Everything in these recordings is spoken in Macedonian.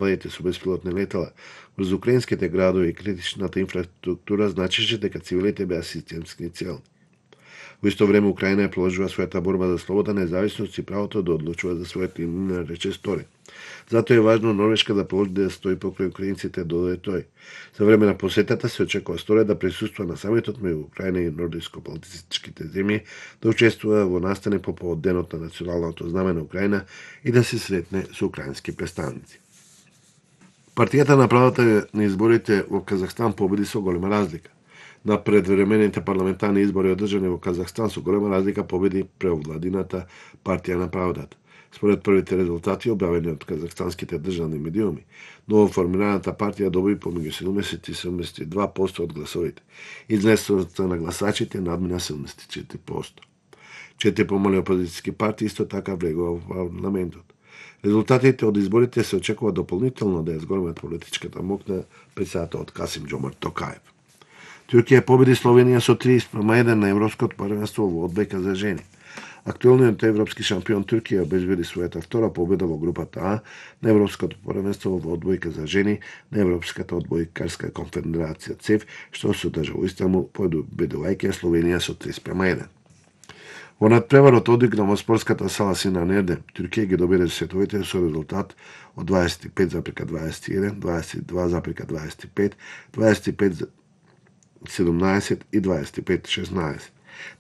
полетите со беспилотни летала врз украинските градови и критичната инфраструктура значеше дека цивилите беа системски целни. Во исто време Украина ја продолжува својата борба за слобода, независност и правото да одлучува за својата имена, рече Стори. Затоа е важно Норвешка да продолжи да стои покрај украинците доде тој. За време на посетата се очекува Стори да присуства на самитот меѓу Украина и нордиско-балтичките земји, да учествува во настани по повод денот на националното знаме на Украина и да се сретне со украински представници. Партијата на правата на изборите во Казахстан победи со голема разлика. На предвремените парламентарни избори одржани во Казахстан со голема разлика победи преовладината партија на правдата. Според првите резултати објавени од казахстанските државни медиуми, новоформираната партија доби помеѓу 70 и 72% од гласовите. Излезноста на гласачите надмина 74%. 4 помали опозицијски партии исто така влегува во парламентот. Резултатите од изборите се очекува дополнително да ја зголемат политичката моќ на председателот Касим Џомарт Токаев. Туркија победи Словенија со 30:1 на Европското првенство во одбојка за жени. Актуелниот европски шампион Туркија обезбеди својата втора победа во групата А на Европското првенство во одбојка за жени на Европската одбојкарска конфедерација ЦЕФ, што се одржа во Истанбул, победувајќи Словенија со 30:1. Во надпреварот одигнал во спортската сала Синан Ердем, Туркија ги добиде сетовите со резултат од 25,21, 22,25, 25,17 и 25,16.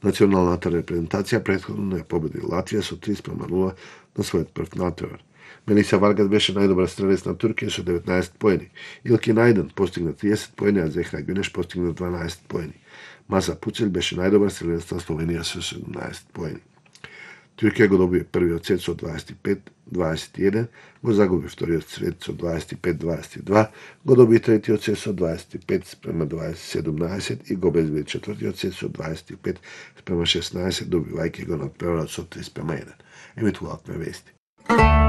Националната репрезентација претходно ја победи Латвија со 30:0 на својот прв надпревар. Мелиса Варгас беше најдобар стрелец на Туркија со 19 поени. Илки Најден постигна 30 поени, а Зехра Гюнеш постигна 12 поени. Маса Пуцел беше најдобар стрелец на Словенија со 17 поени. Туркија го доби првиот сет со 25-21, го загуби вториот сет со 25-22, го доби третиот сет со 25:17 и го обезбеди четвртиот сет со 25:16, добивајќи го надпреварот со 30:1. Емитуваат ме вести.